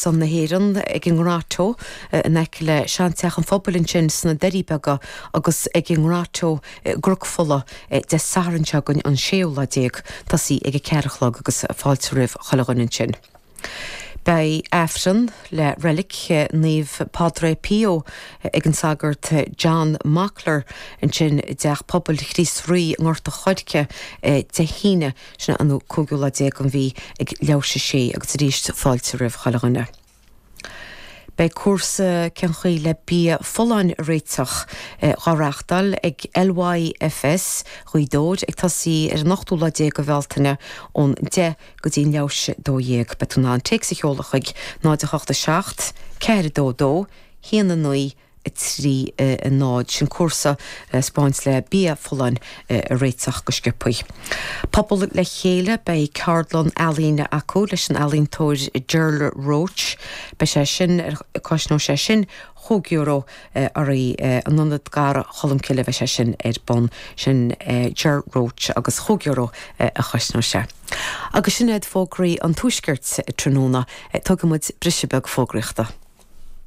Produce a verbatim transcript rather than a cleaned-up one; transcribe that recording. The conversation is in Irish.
son na hÉireann ag an nGrotto in aice le Seanteach an Phobail ansin sna Doirí Beaga agus ag an nGrotto i gCnoc Fola Dé Sathairn seo chugainn an séú lá déag, tosaí ag a ceathair a chlog agus fáilte roimh chuile dhuine ansin. Beidh Aifreann le reilic Naomh Padre Pio ag an Sagart John Mockler ansin i dTeach Pobail Chríost Rí i nGort an Choirce Dé hAoine, sin an cúigiú lá déag den mhí ag leathuair tar éis a sé agus arís fáilte roimh chuile dhuine. Beidh cúrsa cén chaoi le bia folláin a réiteach dhá reáchtáil ag LYFS Ghaoth Dobhair ag tosaí ar an ochtú lá déag de Bhealtaine ón deich go dtí an leathuair tar éis a dó dhéag. Beidh tú in ann téacs a sheoladh chuig náid a hocht a seacht, ceathair a dó dó, haon a naoi, a trí a náid. Sin cúrsa 'spáint le bia folláin a réiteach go sciobthaí. Pobal le chéile, beidh ceardlann ealaíne acu leis an ealaíontóir Gerald Roach. Beidh sé sin, cosnóidh sé sin chúig euro oraibh in Ionad Dhara Cholmcille bheidh sé sin ar bun. Sin Ger Roach agus chúig euro a chosnóidh sé. Agus sin iad fógraí an Tuaiscirt tráthnóna. Tógfaidh muid briseadh beag fógraíochta.